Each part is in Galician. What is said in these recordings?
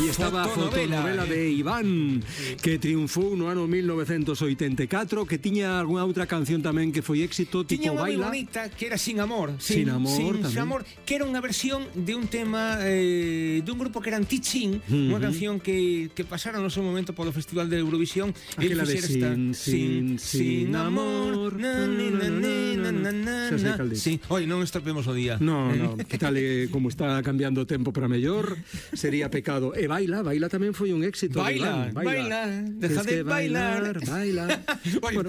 Aí estaba a fotonovela de Iván, que triunfou no ano 1984, que tiña algunha outra canción tamén que foi éxito, tipo Tiña unha moi Baila. bonita que era Sin Amor. Sin Amor, que era unha versión de un tema dun grupo que eran Tichin, unha canción que pasara no seu momento polo Festival de Eurovisión. Aquela de Sin Amor. Sí, oi, non estropemos o día. No, que tal como está cambiando o tempo para mellor, sería pecado. E Baila tamén foi un éxito. Baila, deja de bailar. Baila. Bueno,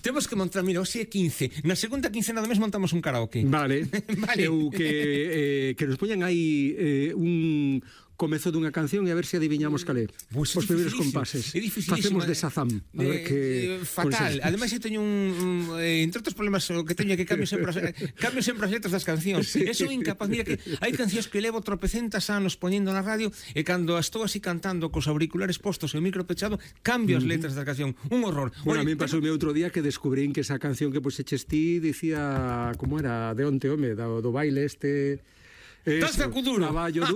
temos que montar, mira, hoxe é 15. Na segunda quincena do mes montamos un karaoke. Vale. Vale. Eu que nos poñan aí un comezo dunha canción e a ver se adiviñamos cal é. Pues os primeiros compases. É dificilísimo. Facemos de Shazam. A ver que fatal. Ademais, eu teño entre outros problemas o que teño é que cambio sempre as letras das cancións. Sí. Eso é incapaz. Mira que hai cancións que levo tropecentas anos poñendo na radio e cando as estou así cantando cos auriculares postos e o micro pechado, cambio as letras da canción. Un horror. Bueno, a mí pasoume outro día que descubrín que esa canción que puxeches ti dicía, como era, de onte, home, do baile este... Danza co duro. Traballo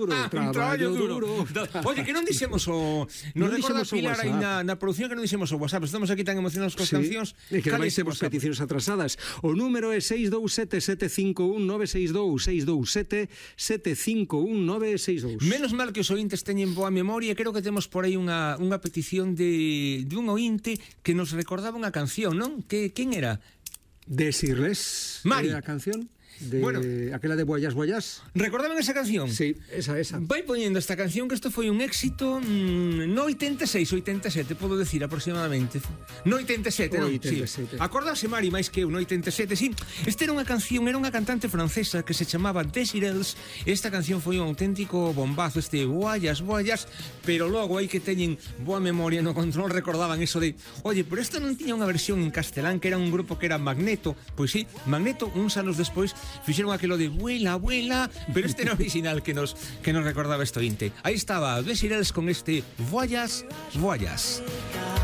duro. Oye, que non dixemos o... Nos recorda Pilar aí na produción que non dixemos o WhatsApp. Estamos aquí tan emocionados cos cancións. E que ademais temos peticións atrasadas. O número é 627-751-962, 627-751-962. Menos mal que os ointes teñen boa memoria. Creo que temos por aí unha petición de un ointe que nos recordaba unha canción, non? Quen era? Decirles Mari. A canción de, bueno, aquela de Boyas. ¿Recordaban esa canción? Sí, esa. Vai poñendo esta canción que isto foi un éxito no 86, 87, podo decir aproximadamente. No 87, non? 87. Sí. Acordase Mari máis que eu no 87, sí. Esta era unha canción, era unha cantante francesa que se chamaba Desirels. Esta canción foi un auténtico bombazo, Boyas, pero logo hai que teñen boa memoria no control, recordaban eso de, oye, pero esta non tiña unha versión en castelán que era un grupo que era Magneto. Pois sí, Magneto, uns anos despois fixeron aquilo de vuela, pero este era original que nos recordaba esto inte. Aí estaba Desirels con este Voyas.